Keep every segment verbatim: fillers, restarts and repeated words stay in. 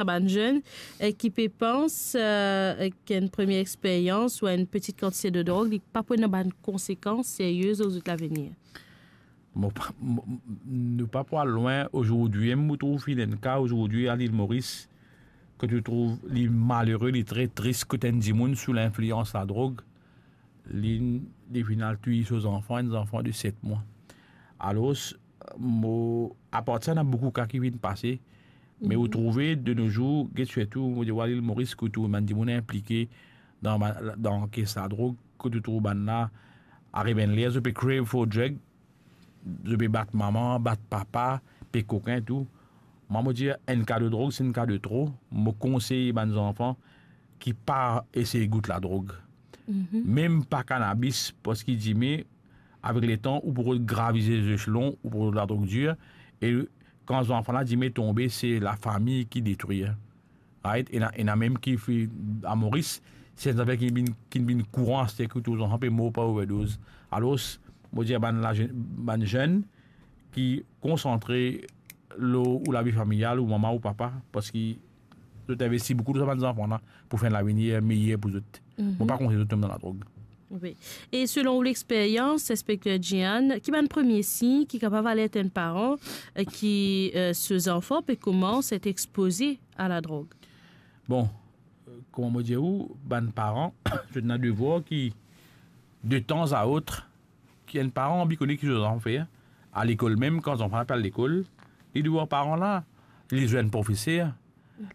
sa bann zenn, eh, ki pe pans, eh, ki enn premie experyans ou enn peti kantite de drog, li pa pou ena bann konsekans serye lor zot lavenir? Mo pa, mo, nou pa pou al lwin. Ozordi, mo trouv finn enn ka ozordi a Lil Moris, kot ou trouv li malere, li tre tris, kot enn dimoun sou linflians ladrog, li, li finn al touy so zanfan, enn zanfan de set mwa. Alor, mo, apartir sa, ena boukou ka ki finn pase, me ou trouve de no zour, get sirtou, mo dir, a Lil Moris, kot ou trouv bann dimoun inplike dan, dan kes ladrog, kot ou trouv bann la, ariv enn ler, zot pe crave for drug, zot pe bat mama, bat papa, pe kokin tou. Mwa, mo dir, enn ka de drog, se enn ka de tro. Mo konsey bann zanfan ki pa esey gout ladrog. Mem pa kanabis, parski dime, avek letan, ou pou rod gravize zeselon, ou pou rod ladrog dir, e kan zanfan la dime tonbe, se lafami ki detrir. Right? Ena, ena mem ki fi-, a Moris, se enn zafer ki vinn, ki vinn kouran, se ki tou zanfan pe mor par overdoz. Alor, mo dir bann la, bann zenn ki konsantre lor ou lavi familial, ou mama ou papa, parski zot investi boukou lor sa bann zanfan la pou fer enn lavenir meyer pou zot. Mo pa konsey zot tom dan ladrog. Wi. E selon ou lexperyans, Inspekter Gian, ki bann premie sign ki kapav alert enn paran, eh, ki, eh, so zanfan pe koumans et expoze a ladrog? Bon, eh, kouma mo dir ou, bann paran, zot ena devwar ki, de tan a ot, ki enn paran anvi kone ki so zanfan fer. A lekol mem, kan zanfan la pe al lekol, li devwar paran la, li zwenn profeser,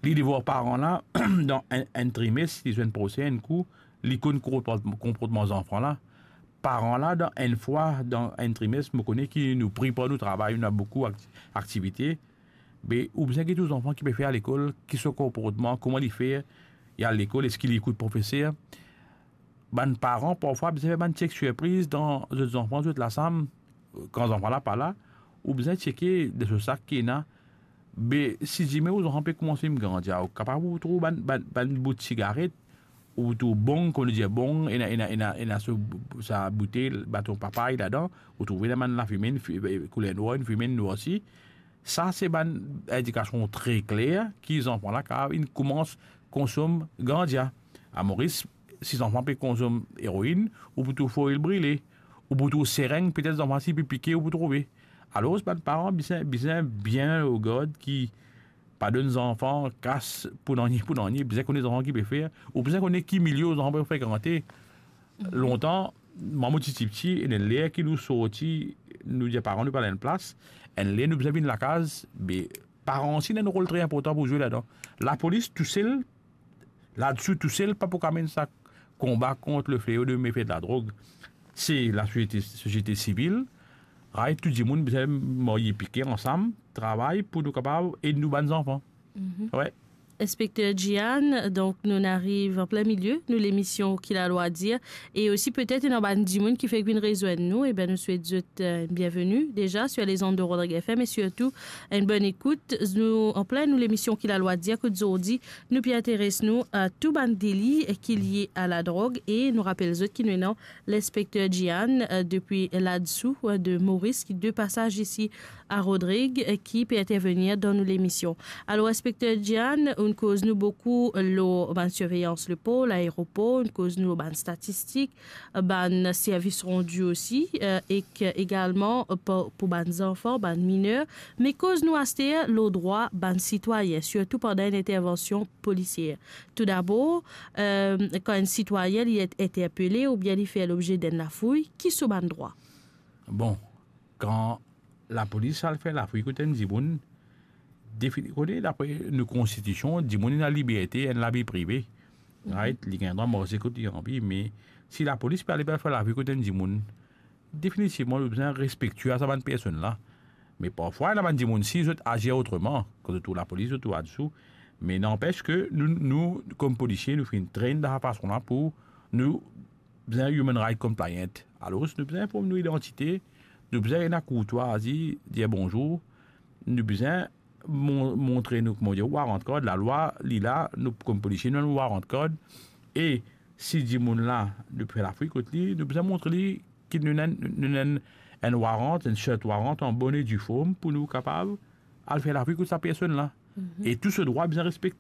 li devwar paran la, dan enn, enn trimes, li zwenn profeser enn kou, li konn konport-, konportman zanfan la. Paran la, dan enn fwa, dan enn trimes, mo kone ki nou pri par nou travay, nou ena boukou akti-, aktivite. Be, ou bizin get ou zanfan ki pe fer a lekol, ki so konportman, kouma li fer, li al lekol, eski li ekout profeser. Bann paran, parfwa, bizin fer bann check surpriz dan zot zanfan, zot lasam, kan zanfan la pa la, ou bizin cheke de so sak ki ena. Be, si dime ou zanfan pe koumans vinn gran, dir ou kapav ou trouv bann, bann, bann bout sigaret, ou trouv bong, kouma nou dir bong, ena, ena, ena, ena so, sa boutel, baton papay ladan, ou trouve ena bann lafime, enn fi-, kouler nwar, enn fime, enn nwar osi. Sa, se bann indikasion tre kler ki zanfan la kapav inn koumans konsom ganja. A Moris, si zanfan pe konsom eroinn, ou pou trouv foil brile, ou pou trouv sereng, petet zanfan si pe pike, ou pou trouve. Alor, bann paran bizin, bizin bien o gard ki pa donn zanfan kas pou nanye, pou nanye, bizin kone zanfan ki pe fer, ou bizin kone ki milie zanfan pe frekante. Lontan, mwa mo ti, ti piti, ena enn ler ki nou sorti, nou dir paran nou pe al enn plas, enn ler nou bizin vinn lakaz, be paran osi ena enn rol tre inportan pou zwe ladan. Lapolis tousel, ladisou tousel, pa pou kapav amenn sa konba kont le fleo de mefe de ladrog. Se lasosiete, sosiete sivil, right, tou dimoun bizin marye pike ansam, travay pou nou kapav ed nou bann zanfan. Wi. Inspekter Gian, donk nou ariv an plin milie nou lemision Ki Lalwa Dir, e osi petet ena bann dimoun ki fek vinn rezwenn nou, e ben nou swet zot, eh, bienveni deza sur les ondes de Rodrigue F M e sirtou enn bonn ekout. Nou an plin nou lemision Ki Lalwa Dir, kot zordi nou pe interes nou a tou bann deli ki lie a ladrog, e nou rapel zot ki nou ena Linspekter Gian, eh, depi ladisou, eh, de Moris, ki de pasaz isi a Rodrig, eh, ki pe intervenir dan nou lemision. Alor, Inspekter Gian, ou'nn koz nou boukou lor bann sirveyans lepor, laeropor, ou'nn koz nou lor bann statistik, bann servis randi osi, eh, ek egalman pou, pou bann zanfan, bann miner. Me koz nou aster lor drwa bann sitwayin, sirtou pandan enn intervansion polisier. Toudabor, eh, kan enn sitwayin li et interpele oubien li fer lobze d'enn lafouy, ki so bann drwa? Bon, kan lapolis al fer lafouy kot enn dimoun, defini-, kone, dapre nou konstitision, dimoun ena liberte, enn lavi prive. Right? Li gagn drwa marse kot li anvi, me si lapolis pe ale fer lafouy kot enn dimoun, definitivman, nou bizin respektie a sa bann personn la. Me parfwa, ena bann dimoun si zot azir otreman, kan zot trouv lapolis, zot trouv ladisou. Me nanpes ke nou, nou, kom polisie, nou finn train dan sa fason la pou nou bizin human right compliant. Alor, nou bizin inform nou idantite, nou bizin ena kourtwazi, dir bonzour, nou bizin mon-, montre nou, kouma dir, warrant card, lalwa, li la, nou kom polisie, nou ena warrant card, e si dimoun la, nou fer lafouy kot li, nou bizin montre li ki nou ena, nou ena enn, enn warrant, enn search warrant an bonn e due form pou nou kapav al fer lafouy kot sa personn la. E tou so drwa bizin respekte.